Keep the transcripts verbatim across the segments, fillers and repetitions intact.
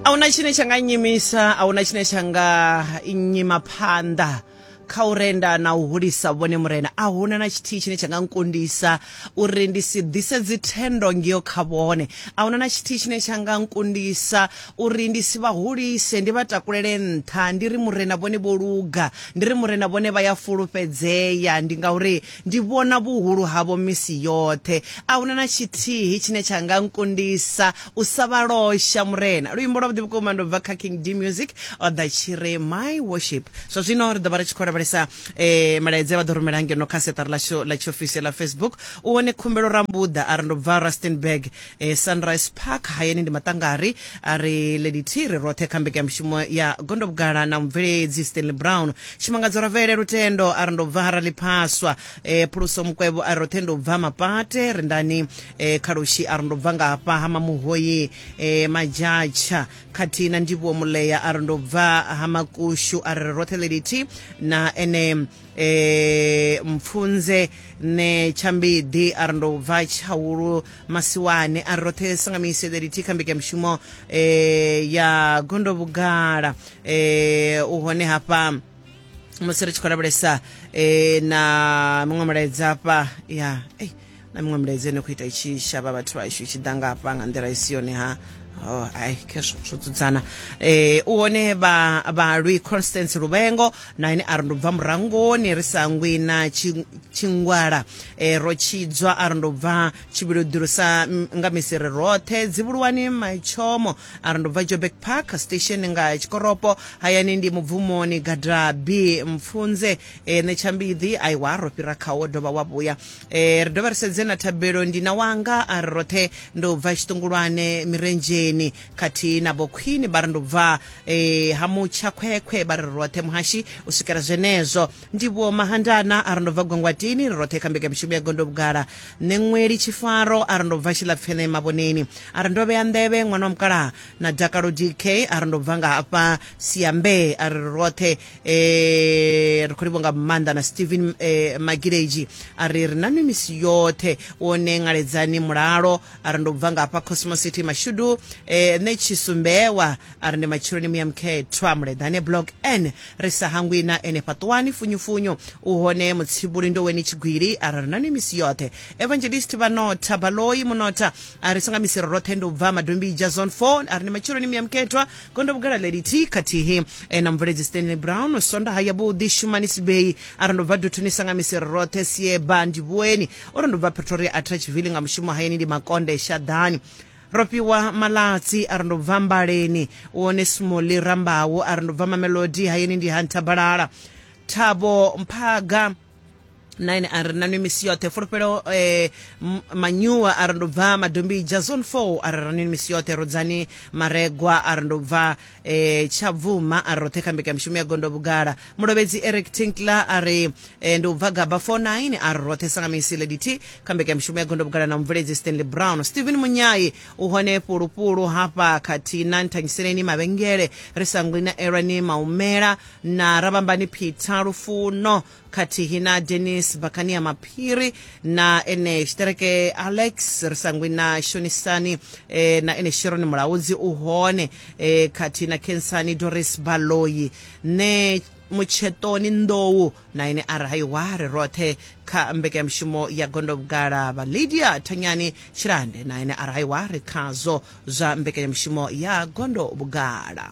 Ahuna tshine tsha nga nyimisa, ahuna tshine tsha nga nyima phanḓa kha u renda na u hulisa vhone Murena. Ahuna na tshithihi tshine tsha nga nkundisa uri ndi si ḓise dzithendo ngeo kha vhone. Ahuna na tshithihi tshine tsha nga nkundisa uri ndi si vha hulise, ndi vha takulele nṱha, ndi ri Murena vhone vho luga, ndi ri Murena vhone vha ya fulufhedzea, ndi ngauri ndi vhona vhuhulu havho misi yoṱhe. Ahuna na tshithihi tshine tsha nga nkundisa u sa vha losha Murena. Luimbo lwa vhuḓi vhukuma ndo bva kha King D Music, o ḓa tshi ri My Worship. Zwa zwino ri ḓo vha ri tshi khou lavhelesa eh, malaedza vha ḓo rumela ngeno kha siaṱari ḽashu ḽa tshiofisi ḽa Facebook. U wone Khumbelo Rambuḓa a ri ndo bva Rustenburg, eh, Sunrise Park, hayani ndi Maṱangari. A ri Lady T ri roṱhe kha mbekanyamushumo ya Gondo Vhugala na mubveledzi Stanley Brown. Tshimangadzo Ravele Lutendo a ri ndo bva Haraliphaswa. eh, Phuluso Mukwevho a ri roṱhe ndo bva Mapate. Rendani eh, Khalushi a ri ndo bva nga hafha ha Mamuhoyi, eh, Majatsha. Khathihi na Ndivhuwo Muleya a ri ndo bva ha Makushu, a ri roṱhe Lady T na ene eh, Mpfunze ne Tshambiḓi a ri ndo bva Tshaulu Masiwane, a ri roṱhe sangamise Lady T kha mbekanyamushumo eh, ya Gondo Vhugala. eh, u hone hafha musi ri tshi khou lavhelesa eh, na miṅwe milaedza hafha ya eh, na miṅwe milaedza ine khou ita i tshi shavha vhathu vhashu i tshi ḓa nga hafha nga nḓila i si yone ha. Oh, ai khezwo zwo dzudzana. eh u hone vha vhalwi Constance Luvengo na ene a ri ndo bva Murangoni, ri sangwi na Tshingwala, eh ro tshidzwa a ri ndo bva Tshivhilodiro sa nga misi ri roṱhe. Dzivhuluwani Maitshomo a ri ndo bva Joburg Park Station nga Tshikoropo, hayani ndi Mubvumoni Gadabi Mpfunze eh, Netshambiḓi aiwa ro fhira khawo dovha wa vhuya. Eh ri dovha ri sedze na Thabelo ndi na wanga a ri roṱhe ndo bva Tshiṱungulwane Mirenzheni, khathihi na Vho Queen vha ri ndo bva eh, ha Mutsha Khwekhwe, vha ri roṱhe muhashi u swikela zwenezwo. Ndivhuwo Mahandana a ri ndo bva Gwangwatini, ri roṱhe kha mbekanyamushumo ya Gondo Vhugala. Ṋeṅweli Tshifaro a ri ndo bva Tshilapfene Mavhoneni, a ri ndo vhea nḓevhe ṅwana wa mukalaha na Dakalo D K a ri ndo bva nga hafha Siambe, a ri roṱhe eh, ri khou livhuwa nga maanḓa. Na Steven eh, Magileji a ri ri na nwi misi yoṱhe. Wone Ṅaledzani Mulalo a ri ndo bva nga hafha Cosmo City Mashudu. eh, nṋe Tshisumbewa a ri ndi matsheloni muya mukhethwa Muleḓane Block N, ri sa hangwi na ene Fhaṱuwani Funyufunyu. U hone Mutsibuli Ndoweni Tshigwili a ri ri na nwi misi yoṱhe. Evangelist Vhanotha Baloyi Munotha a ri songa misi ri roṱhe ndo bva Madombija Zone four, a ri ndi matsheloni muya mukhethwa Gondo Vhugala Lady T khathihi eh, na mubveledzi Stanley Brown. Sondaha ya vhuḓi Shumani Sibei a ri ndo bva Duthuni sanga misi ri roṱhe. Sieba Ndivhuweni o ri ndo bva Pretoria Atteridgeville nga mushumo hayani ndi Makonde Shadani. Rofhiwa Malatsi a ri ndo bva Mbaleni. Wone Smoli Rambawo a ri ndo bva Mamelodi hayani ndi Hanthabalala. Thabo Mphaga na ene a ri na nwi misi yoṱhe. Fulufhelo eh, Manyuwa a ri ndo bva Madombija Zone four, a ri ra nwi misi yoṱhe. Rodzani Maregwa a ri ndo bva eh, Tshabvuma, a ri roṱhe kha mbekanyamushumo ya Gondo Vhugala. Mulovhedzi Eric Tinkler a ri eh, ndi u bva Gaba four nine, a ri roṱhe sangamisi Lady T kha mbekanyamushumo ya Gondo Vhugala na mubveledzi Stanley Brown. Steven Munyai u hone fhulufhulu hafha khathihi na Nthangiseleni Mavhengele, ri sangwi na Erani Maumela na Rabambani Peter Lufuno khathihi na Dennis Bakania Maphiri na ene Tshitereke Alex, ri sangwi na Shonisani eh, na ene Sharon Mulaudzi u hone eh, khathihi na Khensani Doris Baloyi ne Mutshetoni Nḓou na ene a ri haiwa ri roṱhe kha mbekanyamushumo ya Gondo Vhugala. Vha Lydia Thanyani Tshilande na ene a ri haiwa ri khazwo zwa mbekanyamushumo ya Gondo Vhugala.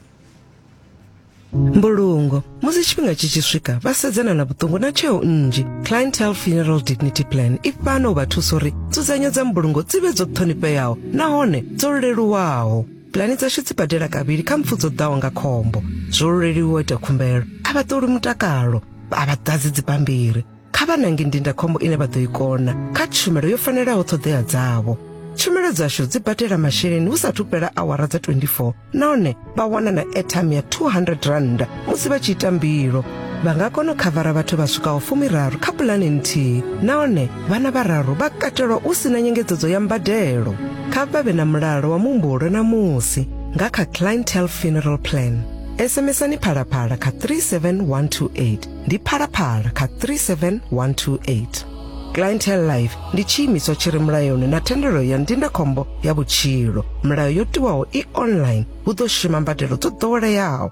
Mbulungo musi tshifhinga tshi tshi swika vha sedzana na vhuṱungu na tsheo nnzhi. Clientele Funeral Dignity Plan i fhano u vha thusa uri nzudzanyo dza mbulungo dzi vhe dzo ṱhonifheaho nahone dzo leluwaho. Pulani dzashu dzi badela kavhili kha mpfu dzo ḓaho nga khombo. Zwo leluwa u ita khumbelo, a vha ṱoli mutakalo, a vha ḓadzi dzibammbiri. Kha vha nange ndindakhombo ine vha ḓo i kona kha tshumelo yo fanelaho ṱhoḓea dzavho. Tshumelo dzashu dzi badela masheleni hu sathu fhela awara dza twenty-four nahone vha wana na airtime ya two hundred rand musi vha tshi ita mbilo. Vha nga kona u khavara vhathu vha swikaho fumiraru kha pulane nthihi nahone vhana vhararu vha katelwa u sina nyengedzedzo ya mbadelo. Kha vha vhe na mulalo wa muhumbulo na musi nga kha Clientele Funeral Plan. SMSani Phalaphala kha three seven one two eight, ndi Phalaphala kha three seven one two eight. Clientele Life ndi tshiimiswa tshi re mulayoni na thendelo ya ndindakhombo ya vhutshilo. Milayo yo tiwaho i online, hu ḓo shuma mbadelo dzo ḓoweleaho.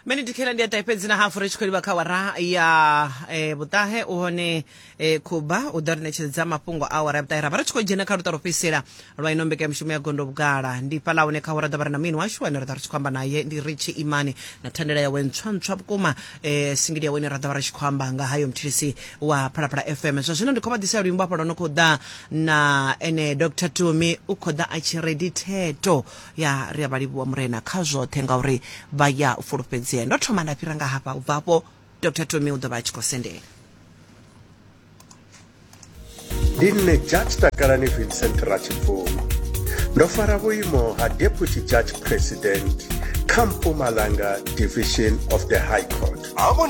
Mene dikhela ndi a ṱahe fhedzi na hafu ri tshi khou livha kha awara ya eh, vhuṱahe. U hone eh, Khuba u ḓo ri ṋetshedza mafhungo a awara ya vhuṱahe, ra vha ri tshi khou dzhena kha luṱa lwo fhedzisela lwa ino mbekanyamushumo ya Gondo Vhugala. Ndi fhaḽa hune kha awara ḓo vha ri na muini washu ane ra ḓo ri tshi khou amba naye, ndi Richi Imani na thandela yawe ntswa ntswa vhukuma, eh, singili yawe ine ra ḓo vha ri tshi khou amba nga hayo, muthilisi wa Phalaphala F M. Zwa zwino ndi khou vha ḓisela luimbo hafha lwo no khou ḓa na ene Doctor Tumi, u khou ḓa a tshi redi theto ya ri a vha livhuwa Murena kha zwoṱhe ngauri vha ya u fulufhedzea. Ndo thoma nda fhira nga hafha, u bva hafho Doctor Tumi u ḓo vha a tshi khou sendela. Ndi nṋe Judge Takalani Vincent Ratshibvumo, ndo fara vhuimo ha Deputy Judge President kha Mpumalanga Division of the High Court. Havho.